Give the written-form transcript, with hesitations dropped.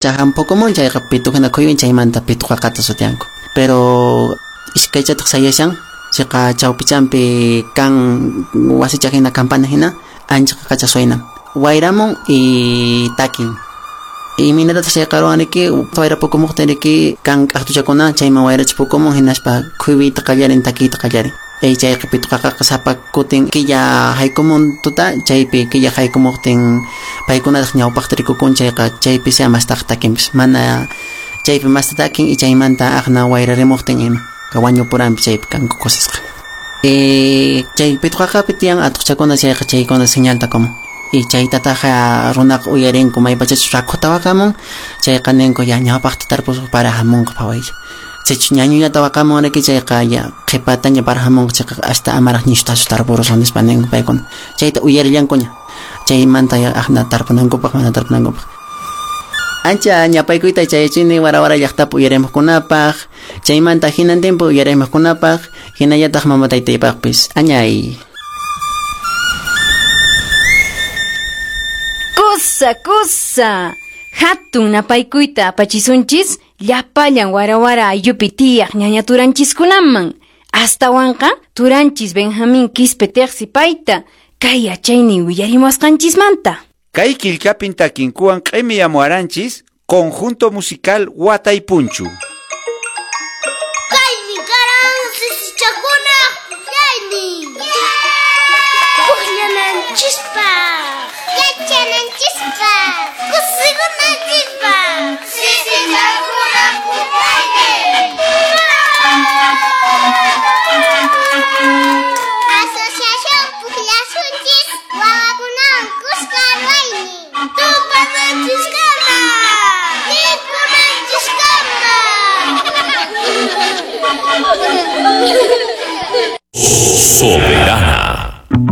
Chahan chayqa pituhina khuyun chaymanta pituqaqata sutiyanku. Pero iskaychataq sayashan chayqa chawpichampi kan wasicha hina campana hina ancha qaqacha suena. Wayramun y takin. Imaynatataq chayqa ruwanriki wayra pukumuqtin riki kan k'aqtuchakuna chayman wayracha pukumun hinaspa khuywiyta qallarin takiyta qallarin. Chayqa pituqaqaqa sapa kutin killa haykumun tuta chaypi killa haykumuqtin paykunataq ñawpaqta rikukun chayqa chaypi sea mastaq takinpis mana chaypi masta takin y chaymanta aqna wayrarimuqtin ima wañupuranpi chaypi kanku kusisqa. Chay pituqaqapi tiyan atuqchakuna chayqa chaykuna señalta como y chaytataqa runaqa uyarinku maypachachus rakhuta waqamun chayqa ninku ya ñawpaqta tarpuspa para hamunqa phawaylla. Sichus ñañullata waqamun riki chayqa ya qhipataña para hamunqa chayqa hasta amaraq ñishutachu tarpurusun nispa ninku paykuna. Chayta uyarillankuña chaymanta ya aqna tarpunankupaq mana tarpunankupaq. Ancha ñapaykuyta chayachini wara wara llaqtapi uyarimuqkunapaq chaymanta hinantinpi uyarimuqkunapaq hinallataq mama taytaypaqpis añay. Kusa kusa hatun napaykuyta apachisunchis llapallan wara wara ayllupi tiyaq ñaña turanchiskunaman astawanqa turanchis Benjamín Quispe Teqsi payta kay yachaynin willarimuwasqanchismanta. Kay killkapin takinkuwan q'imiyamuwaranchis conjunto musical Wataypunchu. Kaymi karan sisichakunaq pukllaynin. Pukllananchispaq, yachananchispaq, kusikunanchispaq. Sisichakunaq pukllaynin. Asociación Pukllasunchis wawakunawan kuska ruwaynin. Tupananchiskama, tinkunanchiskama. Soberana.